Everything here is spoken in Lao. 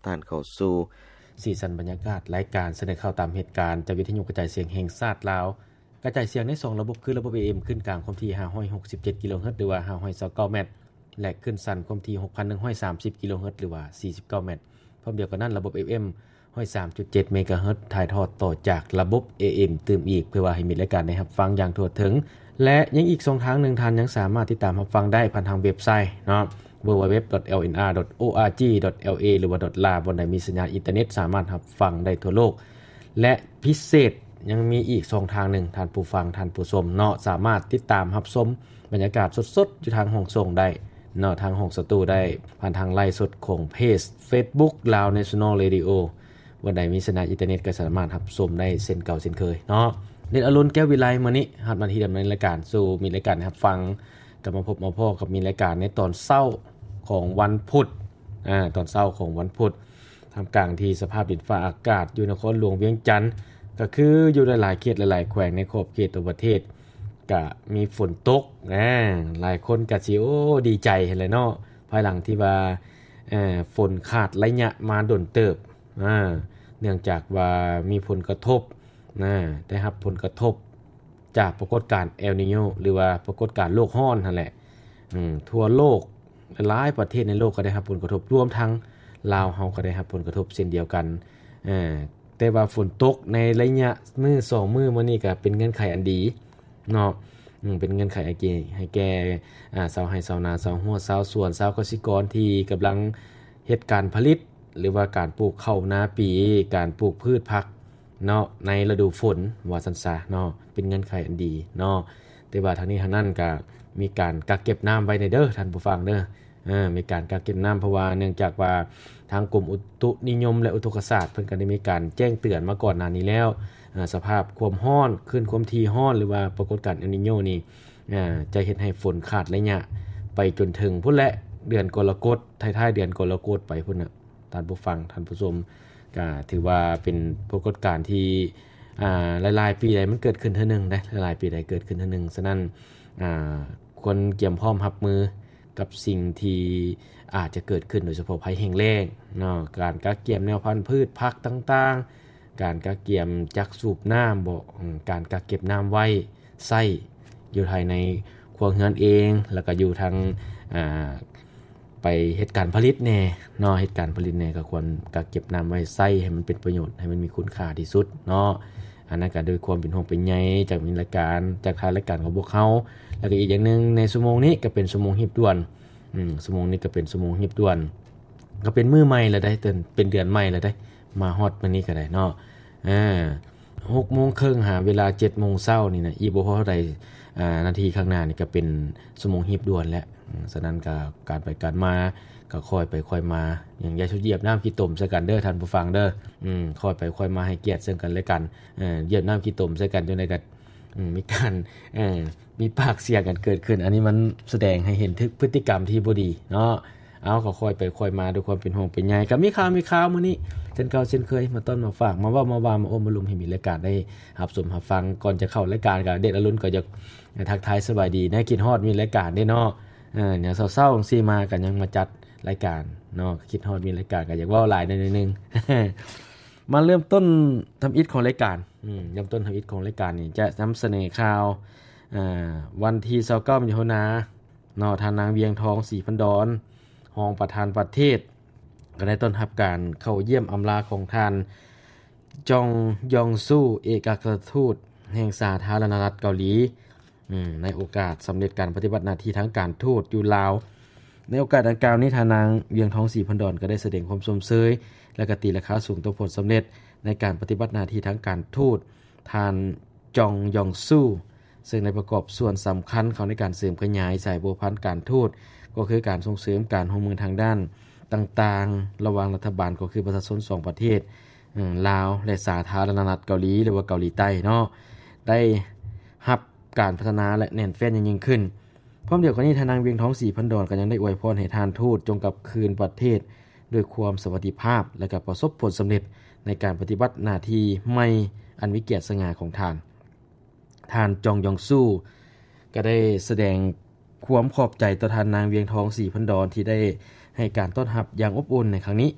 ທ່ານເຂົ້າສູ່ ສີສັນບັນຍາກາດລາຍການສະເໜີຂ່າວຕາມເຫດການ ຈາກວິທະຍຸກະຈາຍສຽງແຫ່ງຊາດລາວ ກະຈາຍສຽງໃນສອງລະບົບ ຄືລະບົບ ເອເອັມ ຂຶ້ນກາງຄວາມຖີ່ ຫ້າຮ້ອຍຫົກສິບເຈັດ ກິໂລເຮີດ ຫຼືວ່າ ຫ້າຮ້ອຍຊາວເກົ້າແມັດ ແລະ ຂຶ້ນສັ້ນຄວາມຖີ່ ຫົກພັນໜຶ່ງຮ້ອຍສາມສິບ ກິໂລເຮີດ ຫຼືວ່າ ສີ່ສິບເກົ້າແມັດ. ພ້ອມດຽວກັນນັ້ນ ລະບົບ ເອຟເອັມ ຮ້ອຍສາມຈຸດເຈັດ ເມກາເຮີດ ຖ່າຍທອດຕໍ່ຈາກລະບົບ ເອເອັມ ຕື່ມອີກ ເພື່ອວ່າໃຫ້ມິດລາຍການໄດ້ຮັບຟັງຢ່າງທົ່ວເຖິງ ແລະ ຍັງອີກຊ່ອງທາງໜຶ່ງ ທ່ານຍັງສາມາດຕິດຕາມຮັບຟັງໄດ້ຜ່ານທາງເວັບໄຊເນາະ www.lnr.org.la ຫຼືວ່າ .la ບ່ອນໃດມີສັນຍານອິນເຕີເນັດ ສາມາດຮັບຟັງໄດ້ທົ່ວໂລກ ແລະ ພິເສດຍັງມີອີກຊ່ອງທາງໜຶ່ງ ທ່ານຜູ້ຟັງ ທ່ານຜູ້ຊົມເນາະ ສາມາດຕິດຕາມຮັບຊົມບັນຍາກາດສົດໆ ຢູ່ທາງຫ້ອງສົ່ງໄດ້ເນາະ ທາງຫ້ອງສະຕູໄດ້ ຜ່ານທາງໄລຟ໌ສົດຂອງເພຈ Facebook Lao National Radio ບ່ອນໃດມີສັນຍານອິນເຕີເນັດ ກໍສາມາດຮັບຊົມໄດ້ເຊັ່ນເກົ່າເຊັ່ນເຄີຍເນາະ. ເດດອາລຸນ ແກ້ວວິໄລ ມື້ນີ້ຮັບໜ້າທີ່ດຳເນີນລາຍການສູ່ມິດລາຍການໄດ້ຮັບຟັງ ກັບມາພົບມາພໍ້ກັບມິດລາຍການໃນຕອນເຊົ້າຂອງວັນພຸດ ອາ ຕອນເຊົ້າຂອງວັນພຸດ ທ່າມກາງທີ່ສະພາບດິນຟ້າອາກາດຢູ່ນະຄອນຫຼວງວຽງຈັນ ກໍຄືຢູ່ຫຼາຍໆເຂດຫຼາຍໆແຂວງໃນຂອບເຂດທົ່ວປະເທດ ກະມີຝົນຕົກ ອາ ຫຼາຍຄົນກະຊິ ໂອ້ ດີໃຈຫັ້ນແຫຼະເນາະ ພາຍຫຼັງທີ່ວ່າ ເອີ ຝົນຂາດໄລຍະມາດົນເຕີບ ອາ ເນື່ອງຈາກວ່າມີຜົນກະທົບ ອາ ໄດ້ຮັບຜົນກະທົບຈາກປາກົດການເອລນີໂຍ ຫຼືວ່າປາກົດການໂລກຮ້ອນຫັ້ນແຫຼະ ອືມ ທົ່ວໂລກ ຫຼາຍໆປະເທດໃນໂລກກໍໄດ້ຮັບຜົນກະທົບ ລວມທັງລາວເຮົາກໍໄດ້ຮັບຜົນກະທົບເຊັ່ນດຽວກັນ ເອີ ແຕ່ວ່າຝົນຕົກໃນໄລຍະມື້ສອງມື້ມານີ້ກໍເປັນເງື່ອນໄຂອັນດີເນາະ ອືມ ເປັນເງື່ອນໄຂອັນດີໃຫ້ແກ່ ອາ ຊາວໄຮ່ຊາວນາ ຊາວຮົ້ວຊາວສວນ ຊາວກະສິກອນທີ່ກຳລັງເຮັດການຜະລິດ ຫຼືວ່າການປູກເຂົ້ານາປີ ການປູກພືດຜັກເນາະ ໃນລະດູຝົນ ວ່າຊັ້ນຊະເນາະ ເປັນເງື່ອນໄຂອັນດີເນາະ ແຕ່ວ່າທັງນີ້ທັງນັ້ນກໍມີການກັກເກັບນ້ຳໄວ້ແດ່ເດີ ທ່ານຜູ້ຟັງເດີ ເອີ ມີການກັກເກັບນ້ຳ ເພາະວ່າເນື່ອງຈາກວ່າທາງກົມອຸຕຸນິຍົມ ແລະ ອຸທົກກະສາດ ເພິ່ນກໍໄດ້ມີການແຈ້ງເຕືອນມາກ່ອນໜ້ານີ້ແລ້ວ ເອີ ສະພາບຄວາມຮ້ອນ ຄື້ນຄວາມຖີ່ຮ້ອນ ຫຼືວ່າປາກົດການເອລນີໂຍນີ້ ເອີ ຈະເຮັດໃຫ້ຝົນຂາດໄລຍະໄປຈົນເຖິງພຸ້ນແຫຼະ ເດືອນກໍລະກົດ ທ້າຍໆເດືອນກໍລະກົດໄປພຸ້ນນະ ທ່ານຜູ້ຟັງ ທ່ານຜູ້ຊົມ ກໍຖືວ່າເປັນປາກົດການທີ່ ອ່າ ຫຼາຍໆປີໃດມັນເກີດຂຶ້ນເທື່ອໜຶ່ງເດ້ ຫຼາຍໆປີໃດເກີດຂຶ້ນເທື່ອໜຶ່ງ ສະນັ້ນ ອ່າ ຄວນກຽມພ້ອມຮັບມືກັບສິ່ງທີ່ອາດຈະເກີດຂຶ້ນ ໂດຍສະເພາະໄພແຫ້ງແລ້ງເນາະ ການກະກຽມແນວພັນພືດຜັກຕ່າງໆ ການກະກຽມຈັກສູບນ້ຳບໍ ອາ ການກະເກັບນ້ຳໄວ້ໃຊ້ຢູ່ພາຍໃນຄົວເຮືອນເອງ ແລ້ວກໍຢູ່ທາງ ອ່າ ໄປເຮັດການຜະລິດແດ່ເນາະ ເຮັດການຜະລິດແດ່ ກໍຄວນກະເກັບນ້ຳໄວ້ໃຊ້ໃຫ້ມັນເປັນປະໂຫຍດ ໃຫ້ມັນມີຄຸນຄ່າທີ່ສຸດເນາະ ອັນນັ້ນກໍດ້ວຍຄວາມເປັນຫ່ວງເປັນໃຍຈາກມິດລາຍການ ຈາກທາງລາຍການຂອງພວກເຮົາ ແລ້ວກໍອີກຢ່າງໜຶ່ງ ໃນຊົ່ວໂມງນີ້ກໍເປັນຊົ່ວໂມງຮີບດ່ວນ ອືມ ຊົ່ວໂມງນີ້ກໍເປັນຊົ່ວໂມງຮີບດ່ວນ ກໍເປັນມື້ໃໝ່ແລ້ວໄດ໋ ເປັນເດືອນໃໝ່ແລ້ວໄດ໋ ມາຮອດມື້ນີ້ກໍໄດ້ເນາະ ເອີ ຫົກໂມງເຄິ່ງຫາເວລາເຈັດໂມງເຊົ້ານີ້ນະ ອີກບໍ່ພໍເທົ່າໃດ ອາ ນາທີຂ້າງໜ້ານີ້ກໍເປັນຊົ່ວໂມງຮີບດ່ວນແລ້ວ ອາ ສະນັ້ນກໍການໄປການມາກໍຄ່ອຍໄປຄ່ອຍມາ ຍັງຢ່າສຸດຢຽບນ້ຳຂີ້ຕົມໃສ່ກັນເດີທ່ານຜູ້ຟັງເດີ ອືມ ຄ່ອຍໄປຄ່ອຍມາ ໃຫ້ກຽດເຊິ່ງກັນແລະກັນ ເອີ ຢຽບນ້ຳຂີ້ຕົມໃສ່ກັນຈັ່ງໃດກໍ ອືມ ມີການ ເອີ ມີປາກສຽງກັນເກີດຂຶ້ນ ອັນນີ້ມັນສະແດງໃຫ້ເຫັນເຖິງພຶດຕິກຳທີ່ບໍ່ດີເນາະ ເອົາ ກໍຄ່ອຍໄປຄ່ອຍມາດ້ວຍຄວາມເປັນຫ່ວງເປັນໃຍ ກໍມີຂ່າວ ມີຂ່າວມື້ນີ້ເຊັ່ນເກົ່າເຊັ່ນເຄີຍ ມາຕ້ອນມາຝາກ ມາເວົ້າມາວ່າ ມາໂອ້ມາລົມໃຫ້ມິດລາຍການໄດ້ຮັບຊົມຮັບຟັງ ກ່ອນຈະເຂົ້າລາຍການກໍເດດອາລຸນກໍຢາກທັກທາຍສະບາຍດີ ນະ ຄິດຮອດມິດລາຍການເດ້ເນາະ ເອີ ຍາມເຊົ້າໆຈັ່ງຊີ້ມາກໍຍັງມາຈັດລາຍການເນາະ ຄິດຮອດມິດລາຍການກໍຢາກເວົ້າຫຼາຍໜ້ອຍໜຶ່ງ ມາເລີ່ມຕົ້ນທຳອິດຂອງລາຍການ ອືມ ເລີ່ມຕົ້ນທຳອິດຂອງລາຍການນີ້ ຈະນຳສະເໜີຂ່າວ ອາ ວັນທີຊາວເກົ້າ ມິຖຸນາ ເນາະ ທ່ານນາງ ວຽງທອງ ສີພັນດອນ ຮອງປະທານປະເທດ ກໍໄດ້ຕ້ອນຮັບການເຂົ້າຢ້ຽມອຳລາຂອງທ່ານ ຈອງ ຢອງຊູ ເອກອັກຄະລັດທູດແຫ່ງສາທາລະນະລັດເກົາຫຼີ ອືມ ໃນໂອກາດສຳເລັດການປະຕິບັດໜ້າທີ່ທາງການທູດຢູ່ລາວ. ໃນໂອກາດດັ່ງກ່າວນີ້ ທ່ານນາງ ວຽງທອງ ສີພັນດອນ ກໍໄດ້ສະແດງຄວາມຊົມເຊີຍ ແລະ ກໍຕີລາຄາສູງຕໍ່ຜົນສຳເລັດໃນການປະຕິບັດໜ້າທີ່ທາງການທູດ ທ່ານ ຈອງ ຢອງຊູ ເຊິ່ງໄດ້ປະກອບສ່ວນສຳຄັນເຂົ້າໃນການເສີມຂະຫຍາຍສາຍພົວພັນການທູດ ກໍຄືການສົ່ງເສີມການຮ່ວມມືທາງດ້ານຕ່າງໆ ລະຫວ່າງລັດຖະບານ ກໍຄືປະຊາຊົນສອງປະເທດ ເອີ ລາວ ແລະ ສາທາລະນະລັດເກົາຫຼີ ຫຼືວ່າເກົາຫຼີໃຕ້ເນາະ ໄດ້ຮັບການພັດທະນາ ແລະ ແໜ້ນແຟ້ນຢ່າງຍິ່ງຂຶ້ນ. ພ້ອມດຽວກັນນີ້ ທ່ານນາງ ວຽງທອງ ສີພັນດອນ ກໍຍັງໄດ້ອວຍພອນໃຫ້ທ່ານທູດຈົ່ງກັບຄືນປະເທດດ້ວຍຄວາມສະຫວັດດີພາບ ແລະ ກໍປະສົບຜົນສຳເລັດໃນການປະຕິບັດໜ້າທີ່ໃໝ່ອັນມີກຽດສະຫງ່າຂອງທ່ານ. ທ່ານ ຈອງ ຢອງຊູ ກໍໄດ້ສະແດງຄວາມຂອບໃຈຕໍ່ທ່ານນາງ ວຽງທອງ ສີພັນດອນ ທີ່ໄດ້ໃຫ້ການຕ້ອນຮັບຢ່າງອົບອຸ່ນໃນຄັ້ງນີ້.